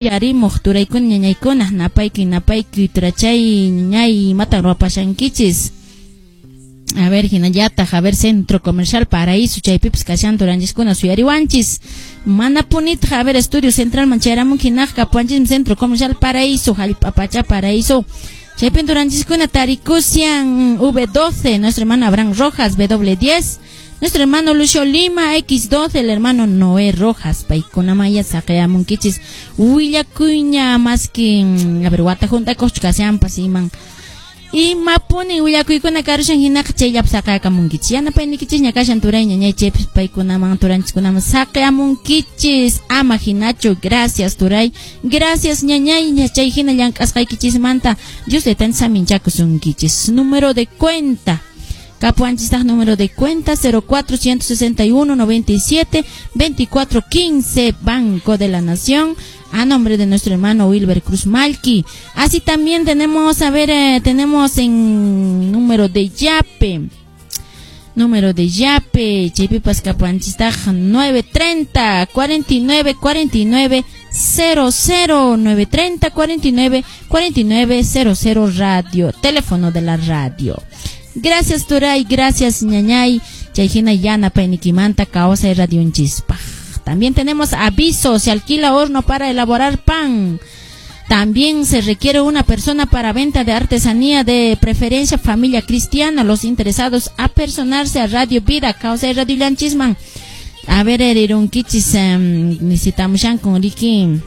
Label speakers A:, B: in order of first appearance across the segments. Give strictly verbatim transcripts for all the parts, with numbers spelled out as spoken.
A: Uyarimuq turaykuna ñañaykuna, napaykuy napaykuy turachay ñañay, imatan ruwapashankichis? A ver, hinallataq, a ver, Centro Comercial Paraíso, chaypipas kashan turanchiskuna suyariwanchis. Mana punitaq, a ver, Estudio Central man chayaramunki hinaq kapuwanchismi Centro Comercial Paraíso, Jallp'a Pacha Paraíso. Chaypin turanchiskuna tarikusian V doce, nuestro hermano Abraham Rojas, W diez, nuestro hermano Lucio Lima, X doce, el hermano Noé Rojas, paykunamanya saqeyamunkichis willakuyña maski, a ver, wata hunt'akuqchu kashanpas iman. Imapunin willakuykuna karushan hinaqa chayllapi saqeyakamunkichis. Yanapayniykichisña kashan turay ñañay chaypis paykunaman turanchiskunaman saqeyamunkichis. Ama hinachu, gracias turay, gracias ñañay, chay hina llank'asqaykichismanta Dios taytanchis saminchakusunkichis. Número de cuenta. Kapuwanchistaq número de cuenta cero cuatro ciento sesenta y uno noventa y siete veinticuatro quince, Banco de la Nación, a nombre de nuestro hermano Wilber Cruz Malqui. Así también tenemos, a ver, eh, tenemos en número de Yape. Número de Yape, chaypipas kapuwanchistaq nueve treinta cuarenta y nueve cuarenta y nueve cero cero, nueve treinta cuarenta y nueve cuarenta y nueve cero cero, radio, teléfono de la radio. Gracias turay, gracias ñañay, chayhina yanapayniykimanta Kawsay Radionchispaq. También tenemos aviso, se alquila horno para elaborar pan. También se requiere una persona para venta de artesanía, de preferencia familia cristiana. Los interesados a personarse a Radio Vida, Kawsay Radiollanchisman. A ver, erirunkichis, um, necesitamos con Ricky.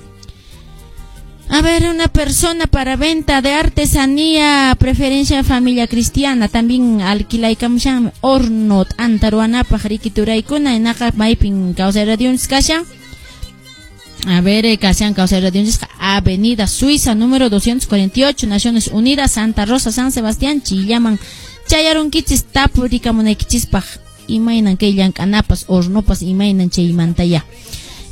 A: A ver, una persona para venta de artesanía, preferencia familia cristiana, también alquilaykamushan horno t'anta ruwanapaq riki turaykuna, hinaqa maypin Kawsay Radionchis kashan. A ver, eh, kashan Kawsay Radionchis Avenida Suiza, número doscientos cuarenta y ocho, Naciones Unidas, Santa Rosa, San Sebastián, chayllaman chayarunkichis tapurikamunaykichispaq imaynan kay llank'anapas hornopas imaynan chaymantaya.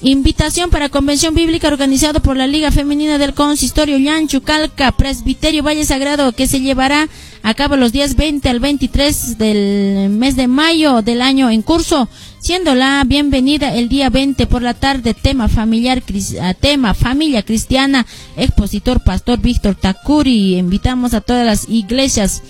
A: Invitación para convención bíblica organizado por la Liga Femenina del Consistorio Llanchu Calca, Presbiterio Valle Sagrado, que se llevará a cabo los días veinte al veintitrés del mes de mayo del año en curso, siendo la bienvenida el día veinte por la tarde, tema familiar, tema familia cristiana, expositor pastor Víctor Takuri. Invitamos a todas las iglesias.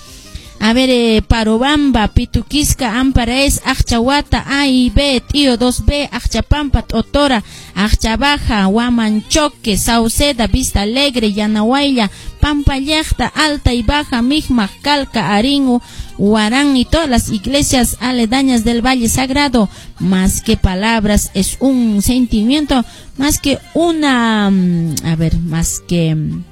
A: A ver, eh, Parobamba, Pituquisca, Amparaes, Acchahuata, A y B, Tío dos B, Acchapampa, Totora, Acchabaja, Huamanchoque, Sauceda, Vista Alegre, Yanahuayla, Pampallacta, Alta y Baja, Migmag, Calca, Aringu, Huarán y todas las iglesias aledañas del Valle Sagrado. Más que palabras, es un sentimiento, más que una, mm, a ver, más que mm,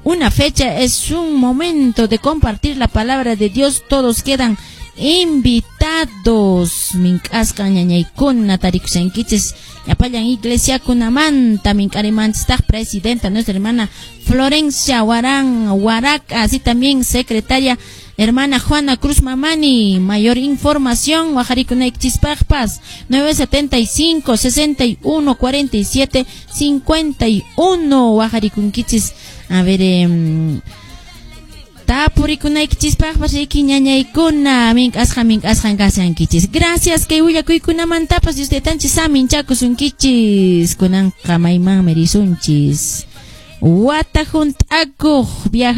A: una fecha, es un momento de compartir la palabra de Dios. Todos quedan invitados. Mink'asqa ñañaykuna tarikushankichis llapallan iglesiakunamanta mink'arimanchistaq presidenta nuestra hermana Florencia Huarán Huarac, así también secretaria hermana Juana Cruz Mamani. Mayor información, waqharikunaykichispaqpas nueve setenta y cinco sesenta y uno cuarenta y siete cincuenta y uno waqharikunkichis. A ver, eh, tapurikunaykichispaqpas riki ñañaykuna mink'asqa mink'asqan kashankichis. Gracias kay willakuykunamantapas Dios taytanchis saminchakusunkichis. Kunanqa maymanmi risunchis? Wata hunt'akuq viaja